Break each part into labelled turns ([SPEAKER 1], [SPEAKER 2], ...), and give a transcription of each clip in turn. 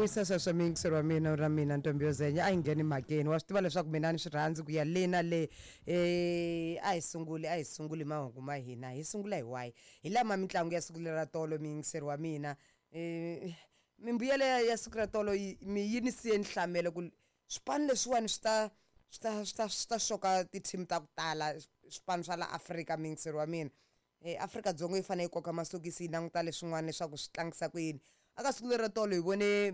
[SPEAKER 1] Vuyisa sweswo miyingiseri wa mina ra mina ntombi yo zenya a yi ngheni mhakeni. Wa swi tiva leswaku mina ni swi rhandzi ku ya le na le. A hi sunguli, a hi sunguli mahungu ma hina, hi sungula hi wahi? Hi lama mitlangu ya siku lera tolo, miyingiseri wa mina. Mimbuyelo ya siku ra tolo yi mi yi ni siye ni hlamele ku swipano leswiwani swi ta swi ta swi ta swi ta xoka ti-team ta ku tala, swipano swa la Afrika, miyingiseri wa mina. Afrika-Dzonga yi fanele yi koka masokisi yi languta leswin'wana leswaku swi tlangisa ku yini. Aka siku lero tolo hi vone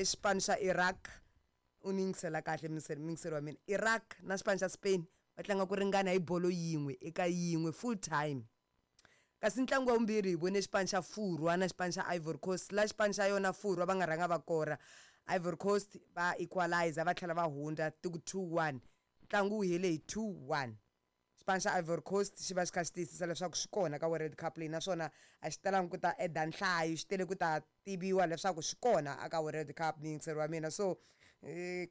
[SPEAKER 1] xipano xa Iraq, u ni yingisela kahle muyingiseri wa mina, Iraq na xipano xa Spain va tlanga ku ringana hi bolo yin'we eka yin'we full time. Kasi ntlangu wa vumbirhi hi vone xipano xa Furwa na xipano xa Ivory Coast, la xipano xa yona Furwa va nga rhanga va kora, Ivory Coast va equalizer va tlhela va hundza ti ku 2-1, ntlangu wu hele hi 2-1. Xipano xa Ivory Coast xi va xi kha xi tiyisisa leswaku xi kona ka World Cup leyi naswona a xi talangi ku ta eda nhlayo, xi tele ku ta tiviwa leswaku xi kona aka World Cup, muyingiseri wa mina. So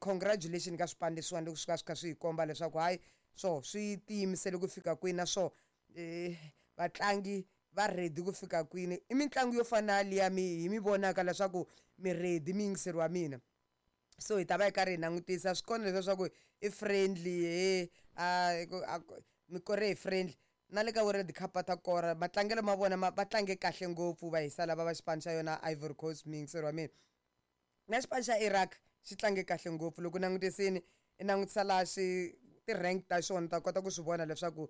[SPEAKER 1] congratulation ka swipano leswiwani loko swi ka swi kha swi hi komba leswaku hayi swo swi tiyimisele ku fika kwini naswo vatlangi va ready ku fika kwini. I mitlangu yo fana na liya mi hi mi vonaka leswaku mi ready, muyingiseri wa mina. So hi ta va hi karhi hi langutisa swi kona leswiya swa ku i friendly he a mi kore hi friendly na le ka World Cup va ta kora. Matlangelo ma vona ma va tlange kahle ngopfu va hisa lava va xipano xa yona Ivory Coast, muyingiseri wa mina. Na xipano xa Iraq xi tlange kahle ngopfu loko u langutisini i langutisa laha xi ti-rank ta xona u ta kota ku swi vona leswaku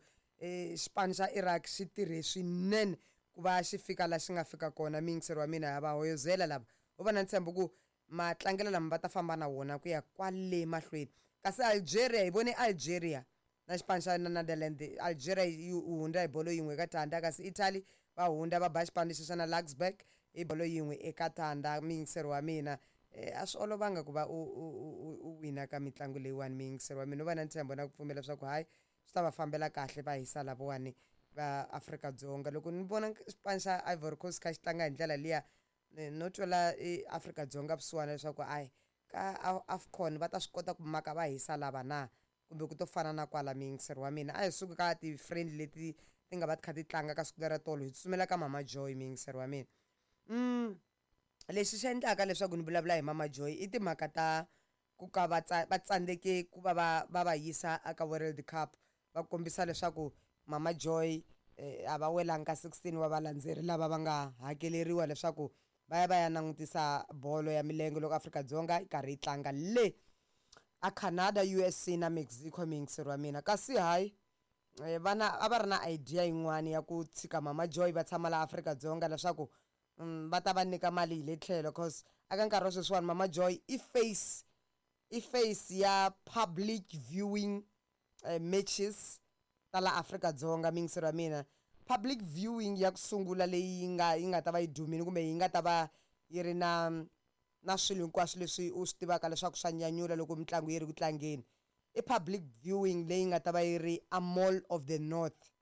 [SPEAKER 1] xipano xa Iraq xi tirhe swinene ku va xi fika laha xi nga fika kona, muyingiseri wa mina. Ha va hoyozela lava ho va na ntshembo ku matlangelo lama va ta famba na wona ku ya kwale mahlweni. Kasi Algeria, hi vone Algeria na xipano xa na Netherland, Algeria yi hundza hi bolo yin'we eka tandza, kasi Italy va hundza va ba xipano lexi xa na Luxembourg hi bolo yin'we eka tandza, muyingiseri wa mina. A swi olovanga ku va u u u u wina ka mitlangu leyiwani, muyingiseri wa mina. U va na ntshembo na ku pfumela leswaku hayi swi ta va fambela kahle va hisa lavawani va Afrika-Dzonga. Loko ni vona xipano xa Ivory Coast kha xi tlanga hi ndlela liya, no twela Afrika-Dzonga vusiwana leswaku hayi ka AFCON va ta swi kota ku maka va hisa lava na kumbe ku to fana na kwala, muyingiseri wa mina. A hi suki ka ti-friendly leti ti nga va ti kha ti tlanga ka siku lera tolo, hi tsutsumela ka Mama Joy, muyingiseri wa mina. Lexi xi endlaka leswaku ni vulavula hi Mama Joy i timhaka ta ku ka va va tsandzeke ku va va va va yisa eka World Cup, va kombisa leswaku Mama Joy a va welanga ka 16 wa valandzeri lava va nga hakeleriwa leswaku va ya va ya langutisa bolo ya milenge loko Afrika-Dzonga yi karhi yi tlanga le a Canada, USA na Mexico, muyingiseri wa mina. Kasi hayi vana a va ri na idea yin'wani ya ku tshika Mama Joy va tshama la Afrika-Dzonga leswaku va ta va nyika mali hi le tlhelo, cause aka nkarhi wa sweswiwani Mama Joy i face, i face ya public viewing matches ta la Afrika-Dzonga, muyingiseri wa mina. Public viewing ya ku sungula leyi yi nga yi nga ta va yi dumile kumbe yi nga ta va yi ri na na swilo hinkwaswo leswi u swi tivaka leswaku swa nyanyula loko mitlangu yi ri ku tlangeni, i public viewing leyi nga ta va yi ri a Mall of the North.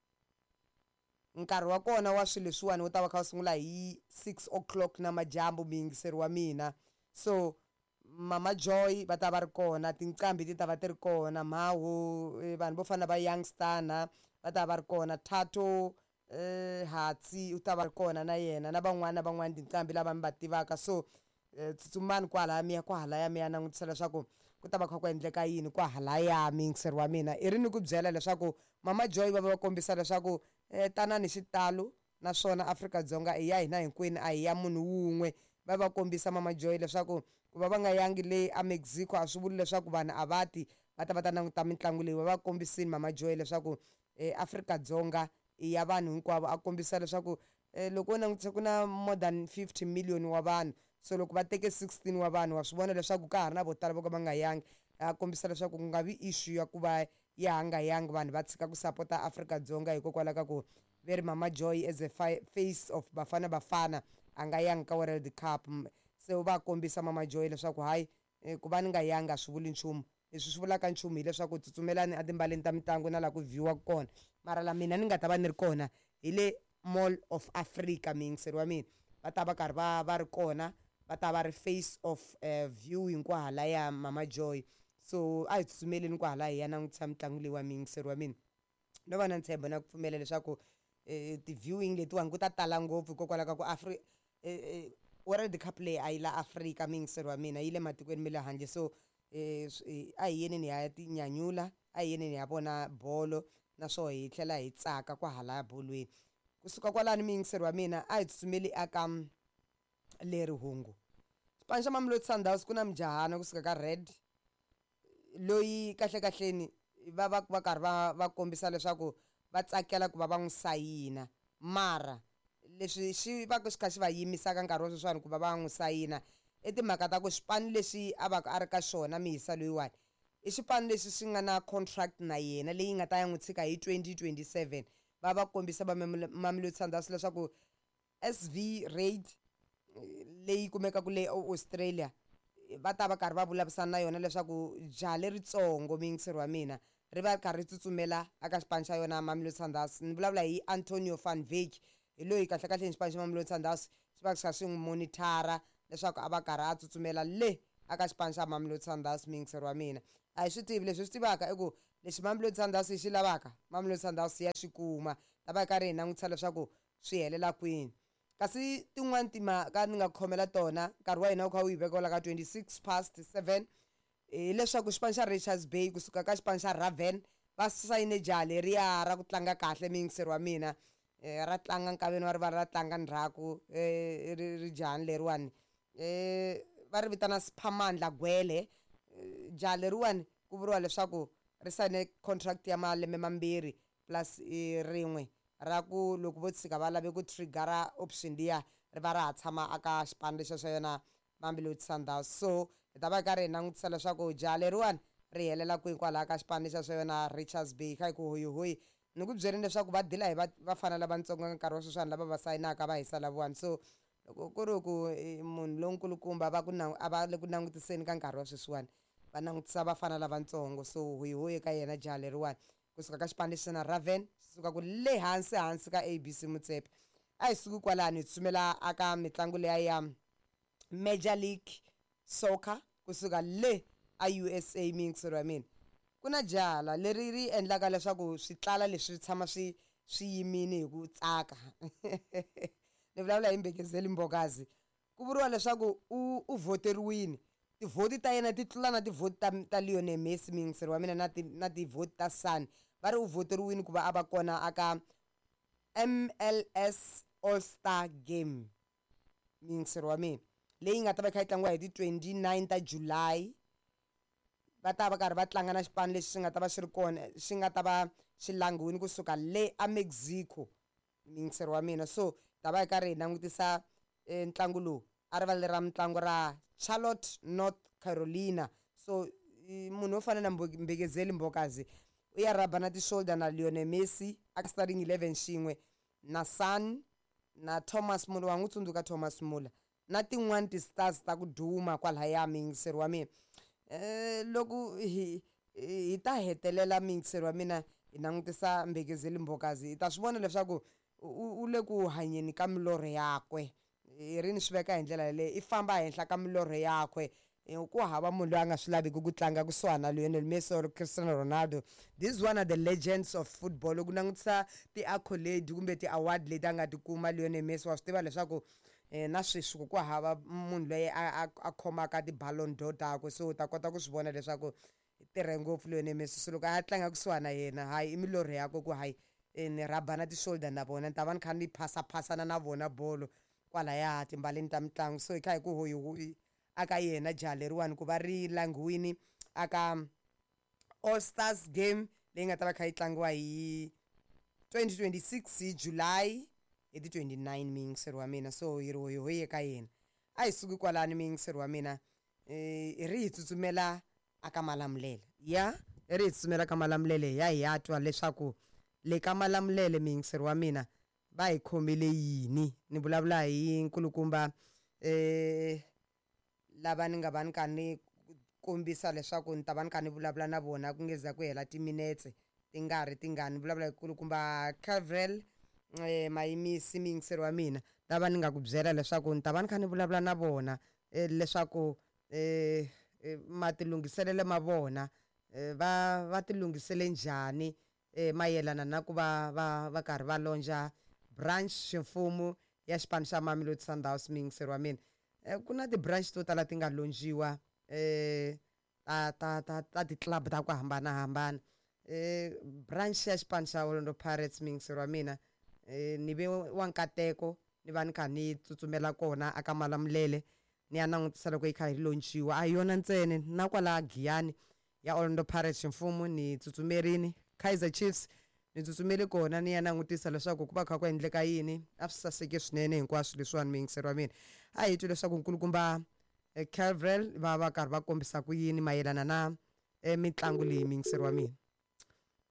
[SPEAKER 1] Nkarhi wa kona wa swilo leswiwani wu ta va kha wu sungula hi 6 o'clock namadyambu, muyingiseri wa mina. So Mama Joy va ta va ri kona, tinqambi ti ta va ti ri kona, mhawu vanhu vo fana na va Youngster na va ta va ri kona, Thato Hatsi u ta va ri kona na yena na van'wana na van'wana tinqambi lava mi va tivaka. So tsutsumani kwalaya mi ya kwahalaya mi ya langutisa leswaku ku ta va kha ku endleka yini kwahalaya, muyingiseri wa mina. I ri ni ku byela leswaku Mama Joy va va va kombisa leswaku tanani hi xitalo naswona Afrika-Dzonga i ya hina hinkwenu a hi ya munhu wun'we. Va va kombisa Mama Joy leswaku ku va va nga yangi le a Mexico a swi vuli leswaku vanhu a va ti va ta va ta languta mitlangu leyi. Va va kombisini Mama Joy leswaku Afrika-Dzonga i ya vanhu hinkwavo, a kombisa leswaku loko wo langutisa ku na more than 50 million wa vanhu, so loko va teke 16 wa vanhu wa swi vona leswaku ka ha ri na vo tala vo ka va nga yangi. A kombisa leswaku ku nga vi issue ya ku va ya ha nga yangi vanhu va tshika ku sapota Afrika-Dzonga hikokwalaho ka ku ve ri Mama Joy as a face of Bafana Bafana a nga yangi ka World Cup. Se u va kombisa Mama Joy leswaku hayi ku va ni nga yangi a swi vuli nchumu. Leswi swi vulaka nchumu hileswaku tsutsumelani etimbaleni ta mitlangu na laha ku view-waka kona. Mara la mina ni nga ta va ni ri kona hi le Mall of Africa, muyingiseri wa mina. Va ta va karhi va va ri kona, va ta va ri face of viewing kwahalaya Mama Joy. So a hi tsutsumeleni kwahalaya hi ya langutisa mitlangu leyiwani, muyingiseri wa mina. No va na ntshembo na ku pfumela leswaku ti-viewing letiwani ku ta tala ngopfu hikokwalaho ka ku World Cup leyi a yi la Afrika, miyingiseri wa mina, yi le matikweni ma le handle. So a hi yeni ni ya tinyanyula, a hi yeni ni ya vona bolo, naswona hi tlhela hi tsaka kwahalaya bolweni. Kusuka kwalani, miyingiseri wa mina, a hi tsutsumeli aka leri hungu. Xipano xa Mamelodi Sundowns, ku na mujahana kusuka ka Red loyi kahlekahleni va va va karhi va kombisa leswaku va tsakela ku va va n'wi sayina, mara leswi xi va xi kha xi va yimisaka nkarhi wa sweswiwani ku va va n'wi sayina i timhaka ta ku xipano lexi a va a ri ka xona miyisa loyiwani i xipano lexi xi nga na contract na yena leyi nga ta ya n'wi tshika hi 2027. Va kombisa va Mamelodi Sundowns leswaku SV Raid leyi kumekaka le Australia va ta va karhi va vulavurisana na yona leswaku jaha leritsongo, muyingiseri wa mina, ri va ri karhi ri tsutsumela eka xipano xa yona Mamelodi Sundowns. Ni vulavula hi Antonio van Wyk, hi loyi kahlekahle ni xipano xa Mamelodi Sundowns xi va xi kha xi n'wi monitor-a leswaku a va karhi a tsutsumela le aka xipano xa Mamelodi Sundowns. Muyingiseri wa mina, a hi swi tivi, leswi hi swi tivaka i ku lexi Mamelodi Sundowns yi xi lavaka, Mamelodi Sundowns ya xi kuma. Ta va hi karhi hi langutisa leswaku swi helela kwini. Kasi tin'wani timhaka ni nga khomela tona, nkarhi wa hina wu kha wu yi veka ka 7:26, hileswaku xipano xa Richards Bay kusuka ka xipano xa Raven va sayine jaha leriya ra ku tlanga kahle, muyingiseri wa mina, ra tlanga nkaveni wa rivala, ra tlanga ndzhaku, ri jahani leriwani va ri vitana Siphamandla Gwele. Jaha leriwani ku vuriwa leswaku ri sayine contract ya malembe 2 plus rin'we ra ku loko vo tshika va lave ku trigger-a option liya, ri va ra ha tshama aka xipano lexiya xa yona Mamelodi Sundowns. So hi ta va hi karhi hi langutisa leswaku jaha leriwani ri helela kwihi kwalaya ka xipano lexiya xa yona Richards Bay. Kha hi ku hoyihoyi, ni ku byeleni leswaku va dila hi vafana lavatsongo ka nkarhi wa sweswiwani lava va sayinaka va hisa lavawani. So loko ku ri ku munhu lonkulukumba va ku a va le ku langutiseni ka nkarhi wa sweswiwani, va langutisa vafana lavatsongo. So hoyihoyi ka yena jaha leriwani kusuka ka xipano lexi na Raven, xi suka ku le hansi hansi ka ABC Motsepe. A hi suki kwalano, hi tsutsumela aka mitlangu leya ya Major League Soccer kusuka le a USA. Miyingiseri wa mina, ku na jaha leri ri endlaka leswaku switlala leswi tshama swi yimini hi ku tsaka. Ni vulavula hi Mbekezeli Mbokazi. Ku vuriwa leswaku u voteriwini, tivhoti ta yena ti tlula na tivhoti ta Lionel Messi, muyingiseri wa mina, na tivhoti ta Son. Va ri u voteriwini ku va a va kona aka MLS All Star Game, muyingiseri wa mina, leyi nga ta va yi kha yi tlangiwa hi ti 29 ta July. Va ta va karhi va tlanga na xipano lexi xi nga ta va xi ri kona, xi nga ta va xi langiwini kusuka le a Mexico, muyingiseri wa mina. So ta va hi karhi hi langutisa ntlangu lowu a rivaleni ra mitlangu ra Charlotte, North Carolina. So munhu wo fana na Mbekezeli Mbokazi u ya rhaba na ti-shoulder na Lionel Messi a starting 11 xin'we na Son na Thomas Muller. Wa n'wi tsundzuka Thomas Muller na tin'wani ti-stars ta ku duma kwalaya, muyingiseri wa mina. Loko hi ta hetelela, muyingiseri wa mina, hi langutisa Mbekezeli Mbokazi, hi ta swi vona leswaku u le ku hanyeni ka milorho yakwe. Hi ri ni swi veka hi ndlela yaleyo, i famba henhla ka milorho yakwe. Ku hava munhu loyi a nga swi laviki ku tlanga kusuhana na Lionel Messi or Cristiano Ronaldo. This one are the legends of football. Loko langutisa ti-accolade kumbe ti-award leti a nga ti kuma Lionel Messi, wa swi tiva leswaku na sweswi ku hava munhu loyi a khomaka ti-Ballon d'Or takwe. So u ta kota ku swi vona leswaku tirhe ngopfu Lionel Messi. So loko a ya tlanga kusuhana na yena, hayi, i milorho yakwe ku hayi, ni rhaba na ti-shoulder na vona, ni ta va ni kha ni phasaphasana na vona bolo kwalaya timbaleni ta mitlangu. So hi kha hi ku hoyihoyi aka yena jaha leriwani ku va ri langiwini aka All Stars Game leyi nga ta va kha yi tlangiwa hi 2026 hi July hi ti 29, muyingiseri wa mina. So hi ri hoyihoyi eka yena. A hi suki kwalani, muyingiseri wa mina, hi ri hi tsutsumela aka Malamulele ya hi ri hi tsutsumela ka Malamulele ya hi ya twa leswaku le ka Malamulele, muyingiseri wa mina, va hi khomele yini. Ni vulavula hi nkulukumba lava ni nga va ni kha ni kombisa leswaku ni ta va ni kha ni vulavula na vona ku nge za ku hela timinetse ti nga ri tingani. Ni vulavula hi kulukumba Cavrel Mayimisi, muyingiseri wa mina, lava ni nga ku byela leswaku ni ta va ni kha ni vulavula na vona leswaku matilunghiselelo ma vona, va tilunghisele njhani mayelana na ku va karhi va launch-a branch ximfumo ya xipano xa Mamelodi Sundowns, muyingiseri wa mina. Ku na ti-branch to tala ti nga lonjiwa ta ta ta ta ti-club ta ku hambanahambana. Branch ya xipano xa Orlando Pirates, muyingiseri wa mina, ni ve wa nkateko ni va ni kha ni tsutsumela kona aka Malamulele ni ya langutisa loko yi kha yi lonjiwa. A hi yona ntsena, na kwala Giyani ya Orlando Pirates ximfumo ni tsutsumerini, Kaizer Chiefs ni tsutsumele kona ni ya langutisa leswaku ku va kha ku endleka yini. A swi saseke swinene hinkwaswo leswiwani, muyingiseri wa mina. A hi twi leswaku nkulukumba Calvrel va va karhi va kombisa ku yini mayelana na mitlangu leyi, muyingiseri wa mina.